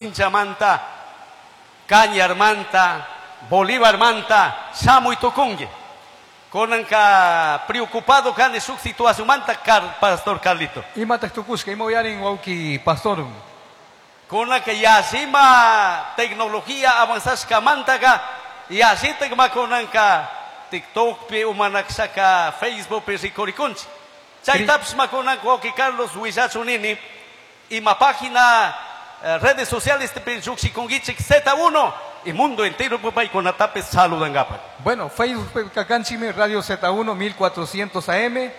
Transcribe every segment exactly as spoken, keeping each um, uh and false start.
Manta, Cañarmanta, Bolívarmanta, shamuy tukunki. Kunanka preocupado kani shuk situacionmanta Car, Pastor Carlito. Imataq tukushka, ima uyarin wawki pastor. Kunanka yashima tecnología avanzashkamantaka yashitak makunanka TikTokpi umanakshaka Facebookpi rikurikunchik. Chaytapish makunanka wawki Carlos willachunini ima página eh, redes sociales llukshikunkichik Z uno y mundo entero paykunatapis saludankapak. Bueno, Facebook kakanchikmi Radio Z uno mil cuatrocientos A M,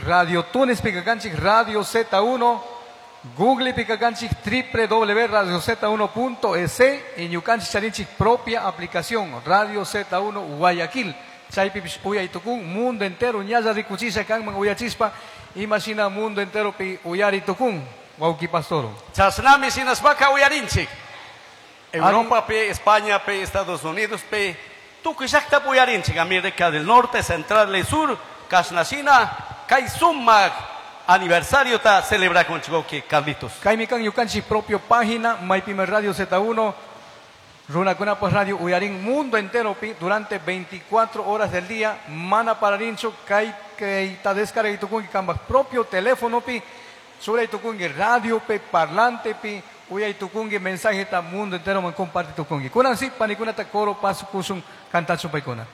Radio Tunes pikakanchik Radio Z uno, Google pikakanchik w w w punto radio Z uno punto es y ñukanchik charinchik propia aplicación Radio Z uno Guayaquil. Chaypipish uyay tukun mundo entero ñalla rikuchisha kanman uyachispa imashina mundo entero pi uyari tukun wawki pastor. Chashnami shinashpaka uyarinchik. Europa pi, España pi, Estados Unidos pi, tukuy llaqtapi uyarinchik, América del Norte, Central y Sur, kashnashina, kay sumak aniversario ta celebrakunchik wawki Carlitos. Kaymi kan ñukanchik propio página maypimi Radio Z uno runakunapaj radio uyarin mundo entero pi durante veinticuatro horas del día mana pararinchu kay kay ta descarga tukunki kambaj propio teléfono pi churay tukunki radio pi parlante pi uyay tukunki mensaje ta mundo entero man comparte tukunki kunan si panikunata coro paso kushun kantachun paykuna.